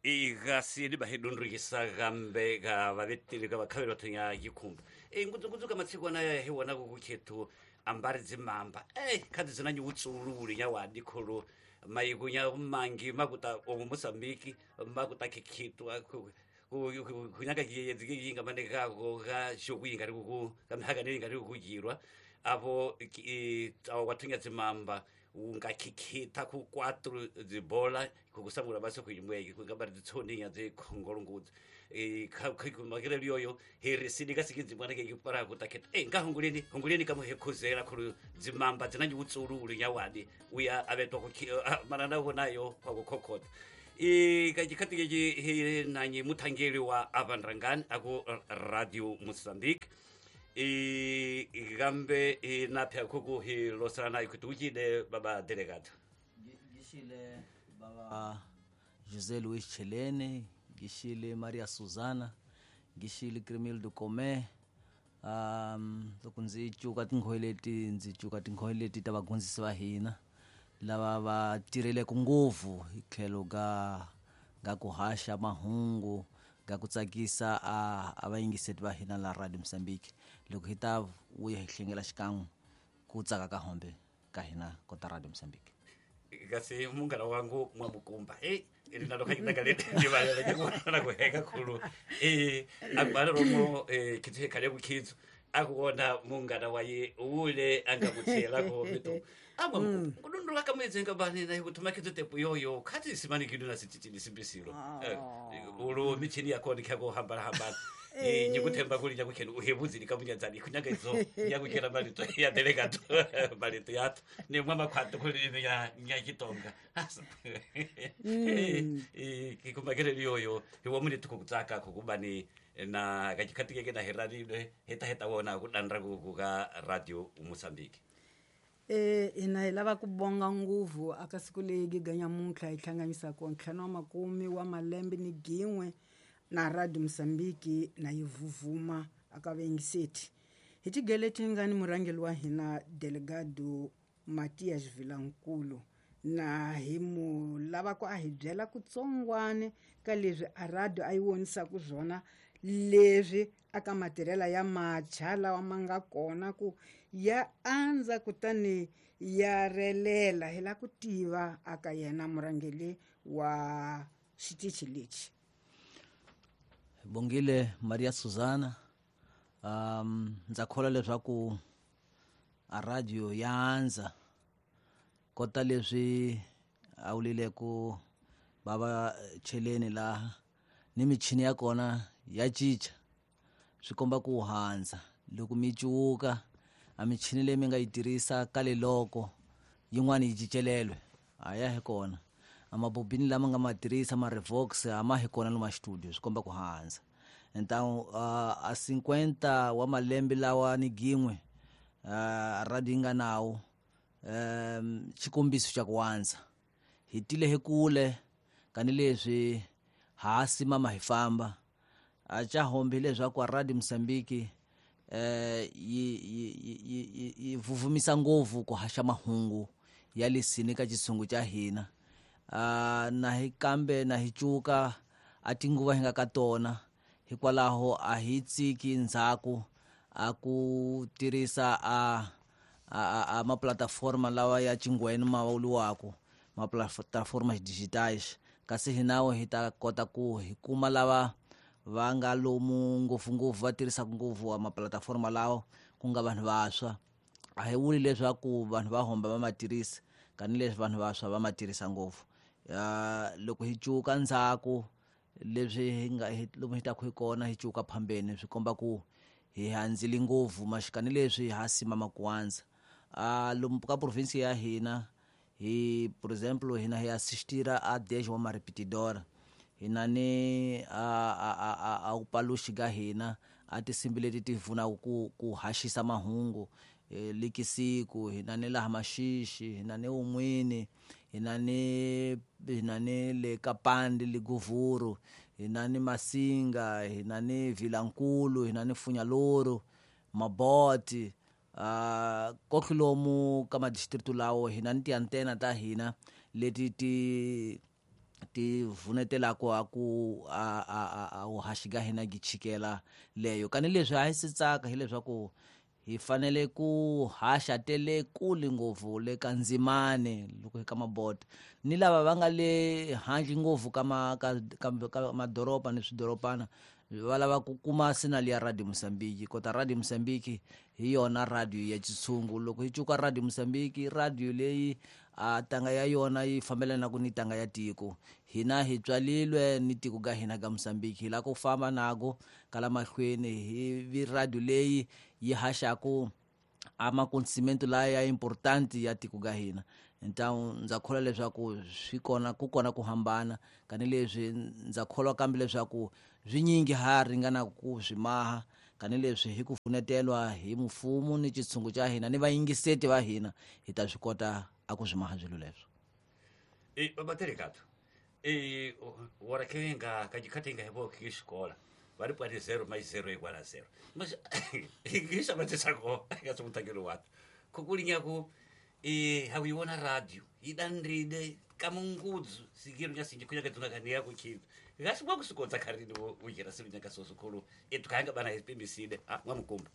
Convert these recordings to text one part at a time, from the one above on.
Igasi libahedundrikisa gambe ga vaveteli ga vakhaveli vathonya yikhumba e ngudzungudzu ka matsikwana ya hi wona kukhethu ambari dzimamba e khadzi dzina nyuwutsululi nya wadi khulu maikunya mangi makuta omu Mozambique makuta khikhitu kunyaka yinga mane gago ga xokuyinga ri ku ka mihaka ni nga ri ku jirwa apo awa kwathunya dzimamba ungakhikita ku quatro dzibola kukusangula basi kuimweki kungabari dzitsoninya dzikhongolongudzi makireli yoyo heresini kasikidzi mwana kekipara kutaketa e ngahunguleni hunguleni kamuhekhuzela khulu dzimamba dzinanyiwutsululu nyawadi uya avetwa manana vonayo kwakukhokhota kachikhati kechi nanyi muthangeli wa avanrangani aku Radio Mozambique gambe napya khuku hi losana nayo kuti uchide baba delegado. Gishile baba José Luiz Chelene, gishile Maria Susana, gishile Cremildo Comé. Loko ndzi cuka tinghoyi leti ndzi cuka tinghoyi leti ta vagondzisi va hina lava va tirheleke ngopfu hi tlhelo ga ga ku haxa mahungu ga ku tsakisa a vayingiseti va hina la Radio Mozambique. Loko hi ta vuya hi hlengela xikan'we ku tsaka ka hombe ka hina kota Radio Mozambique. Kasi munghana wangu mwamukumba e rinalo khakitakale kuheka khulu akubala romo khithu khale kukhitsu akuona munghana waye ule angamutshelako mitu amwa kudundula kamwedzi bani na kuthuma khithu tepu yoyo khathi simani kidu na sititini simbisilo ulu michini yakho ndikhako hambala hambala nyikuthemba kuli nyakukheni uhebudzini kamunyadzani kunyanga idzo nyakukhela malito ya delegato malito yathu ni mwa makhwato kuli ya nyakitonga kikumakeleli yoyo hiwa muni tukukutsaka kukubani na kachikhati keke na heralile heta heta wona kudanra kuka Radio Mozambique. Ina hi lava ku bonga nguvu aka siku leyi giganyamuntlha hi hlanganisaka ntlhanu wa makume wa malembe ni gin'we na Radio Mozambique na yi vuvuma aka vayingiseti. Hi tigeleti nga ni murhangeri wa hina Delegado Matias Vilankulu na hi mu lava ku a hi byela kutsongwane ka leswi a radio a yi vonisaka swona leswi aka matirhela ya matshwa lawa ma nga kona ku ya andza kutani ya relela. Hi la ku tiva aka yena murhangeri wa xitichi lexi. Bongile Maria Susana, ndza kholwa leswaku a radio ya andza kota leswi a wulile ku bava cheleni laha ni michini ya kona ya cinca swi komba ku handza loko mi cuka a michini leyi mi nga yi tirhisa kale loko yin'wana yi cicelelwe a ya hi kona a mabobini lama nga ma tirhisa ma revox a ma hi kona lomu studio swi komba ku handza. Então a 50 wa malembe lawa ni gin'we radio yi nga nawo xikombiso xa ku andza hi tile hi kule kani leswi ha simama hi famba a cha hombi leswaku Radio Mozambique yi vuvumisa ngopfu ku haxa mahungu ya lesini ka xitshungu xa hina. Na hi kambe na hi cuka a tinguva hi nga ka tona hikwalaho a hi tsiki ndzhaku a ku tirhisa a maplataforma lawa ya chingwenu ma vuliwaka maplataforma digitais kasi hinawo hi ta kota ku hi kuma lava va nga lomu ngopfungopfu va tirhisaka ngopfu wa maplataforma lawa ku nga vanhu vantshwa. A hi vuli leswaku vanhu va homba va ma tirhisa kani leswi vanhu vantshwa va ma tirhisa ngopfu. Loko hi cuka ndzhaku leswi hi nga lomu hi taka hi kona hi cuka phambeni swi komba ku hi handzile ngopfu maxikani leswi ha simama ku andza. Lomu ka province ya hina hi por exemplo hina hi assistira a 10 wa marepetidora hina ni a upaluxi ga hina a tinsimbi leti ti pfunaka ku haxisa mahungu likisiku hina ni laha Maxixi hina ni un'wini hina ni le Kapandi Liguvuru hina ni Masinga hina ni Vilankulu hina ni Funyaloro Maboti koklomu ka madistritu lawo hina ni tiantena ta hina leti ti ti vunetelako a ku a vuhaxi ga hina gi chikela leyo. Kani leswi a hi se tsaka hileswaku hi fanele ku haxa tele kule ngopfu le ka ndzimane loko hi ka mabodo ni lava va nga le handle ngopfu ka ka madoroba ni swidorobana va lava ku kuma sinali ya Radio Mozambique. Kota Radio Mozambique hi yona radio ya xitshungu. Loko hi cuka Radio Mozambique, radio leyi a tanga ya yona yi fambelana ku ni tanga ya tiko. Hina hi tswalilwe ni tiko ga hina ga Mozambique, hi lava ku famba nako kala mahlweni hi vi radio leyi yi haxaku a makonsimento laya ya important ya tiko ga hina. Então ndza kholwa leswaku swi kona ku kona ku hambana kani leswi ndza kholwa kambe leswaku swinyingi ha ringana ku swi maha kani leswi hi ku pfunetelwa hi mfumo ni xitshungu xa hina ni vayingiseti va hina hi ta swi kota a ku swi maha swilo leswo. Babaterekato warakenga kajikatenga hebo kishikola vari pwani 0 mais 0 igual a 0 mas ngisha matisako kasumutangelo watu kukulinyaku hawiona radio idandride kamungudzu sikiru nyasinji kunyaka tunakania kuchintu ngasibwa kusikodza kharini ujira siru nyaka sosukulu etukanga bana hipimiside mwamukumba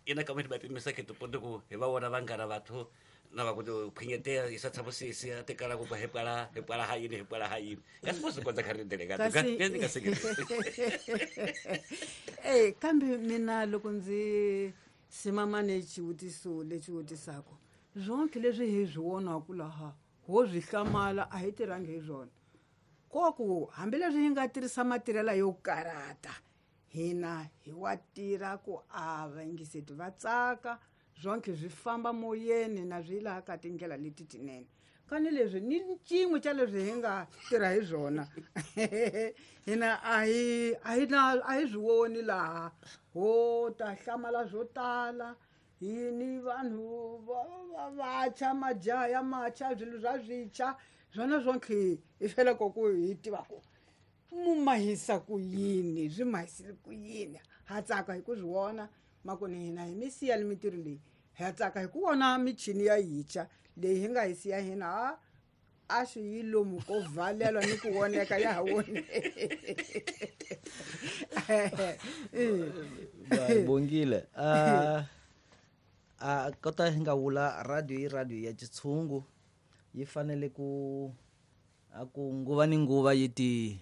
ina kamwe bapimisa ketu ponde ku hevawona vangana vathu na vakuti khwinyetea isatshabosisi atekala ku hepala hepala hayini hepala hayini ngasibwa kusikodza kharini delegato kambe mina loko ndzi simama ni xivutiso lexi vutisaka zonke leswi hi swi vonaka laha ho swi hlamala a hi tirhangi hi swona koku hambileswi hi nga tirhisa matirhela yo karata hina hi wa tirha ku a vayingiseti va tsaka zonke swi famba moyeni na swi laha ka tindlela leti tinene kani leswi ni cin'we xa leswi hi nga tirha hi swona hina a hi swi voni laha ho ta hlamala swo tala hi ni vanhu va vantshwa majaha ya matshwa swilo swa swintshwa swona swonke hi feleko ku hi tiva ku mu mahisa ku yini swi mahisile ku yini ha tsaka hi ku swi vona makoni hina hi mi siya ni mintirho leyi ha tsaka hi ku vona michini ya yintshwa leyi hi nga hi siya hina a swi yi lomu ko valelwa ni ku voneka ya ha voneki. Bongile kota hi nga vula radio yi radio ya xitshungu yi fanele ku a ku nguva ni nguva yi ti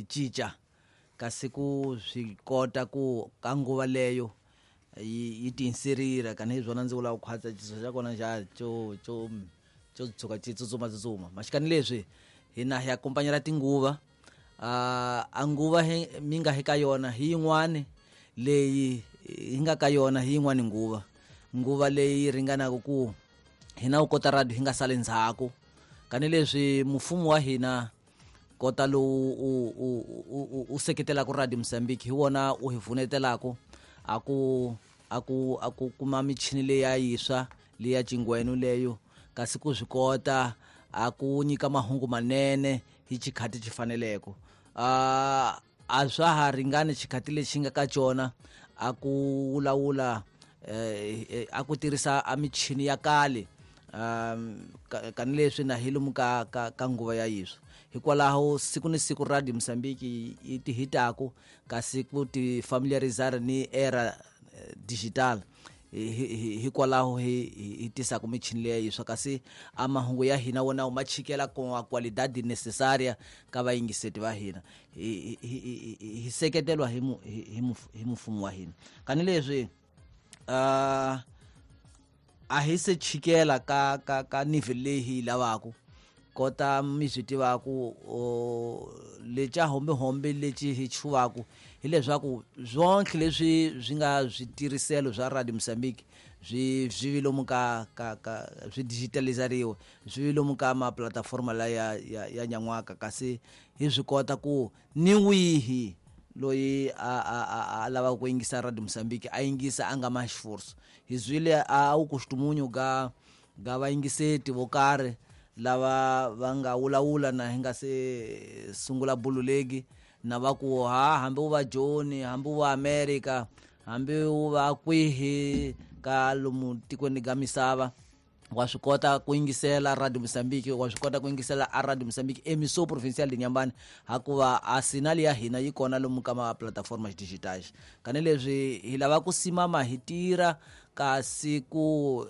cinca kasi ku swi kota ku ka nguva leyo yi tiinserira kani hi swona ndzi vula ku khwatsa xiso xa kona xa xo xo xo tshuka xi tsutsuma tsutsuma maxikani leswi hina hi akompanyela tinguva a nguva mi nga hi ka yona hi yin'wani leyi hi nga ka yona hi yin'wani nguva nguva leyi ringanaka ku hina u kota radio hi nga sali ndzhaku kani leswi mfumo wa hina kota lowu u seketelaka Radio Mozambique hi wona u hi vunetelaka a ku kuma michini leya yiswa leya cingwenu leyo kasi ku swi kota a ku nyika mahungu manene hi xikhati xi faneleke a swa ha ringani xikhati lexi nga ka xona a ku vulavula a ku tirhisa a michini ya kale kani leswi na hi lomu ka ka nguva ya yiswa hikwalaho siku ni siku Radio Mozambique yi ti hitaku kasi ku ti familiarizar ni era digital hikwalaho hi tisaka michini leya yiswa kasi a mahungu ya hina wona ma chikela ku qualidade necessaria ka vayingiseti va hina hi seketelwa hi mfumo wa hina kani leswi a hi se chikela ka ka ka nivel leyi hi lavaka kota mi swi tivaku lexa hombehombe lexi hi chuvaku hileswaku swonke leswi swi nga switirhiselo swa Radio Mozambique swi swi lomu ka ka ka swi digitalizariwa swi lomu ka ma platform la ya ya nyan'waka kasi hi swi kota ku ni wihi loyi a lava ku yingisa Radio Mozambique a yingisa a nga ma xiforso hi zwile a wu kustumunyu ga ga vayingiseti vo karhi lava va nga wulawula na hi nga se sungula bululeki na va ku ha hambi u va Joni hambi u va America hambi u va kwihi ka lomu tikweni ga misava Wa swi kota ku yingisela Radio Mozambique, wa swi kota ku yingisela a Radio Mozambique Emissão Provincial de Inhambane, hakuva a sinali ya hina yi kona lomu ka ma plataformas digitais. Kani leswi hi lava ku simama hi tirha kasi ku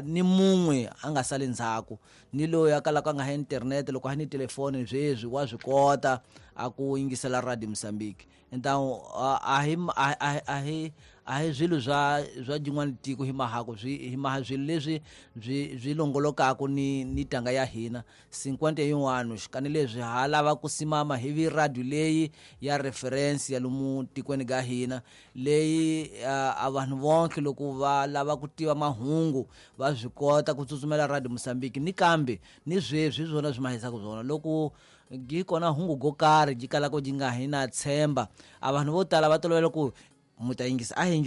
ni mun'we a nga sali ndzhaku, ni loyi a kalaka a nga ha internet, loko a ni telefoni sweswi wa swi kota a ku yingisela Radio Mozambique. Então a hi swilo swa jin'wana tiko hi mahako swi hi maha swilo leswi byi longolokaka ni tanga ya hina 51 anos. Kani leswi ha lava ku simama hi vi radio leyi ya reference ya lomu tikweni ga hina, leyi a vanhu vonke loko va lava ku tiva mahungu va swi kota ku tsutsumela Radio Mozambique. Ni kambe ni sweswi hi swona swi mahisaka swona loko gi kona hungu go karhi ji kalaka ji nga hi na tshemba, a vanhu vo tala va tolovela ku mu ta yingisa a hi.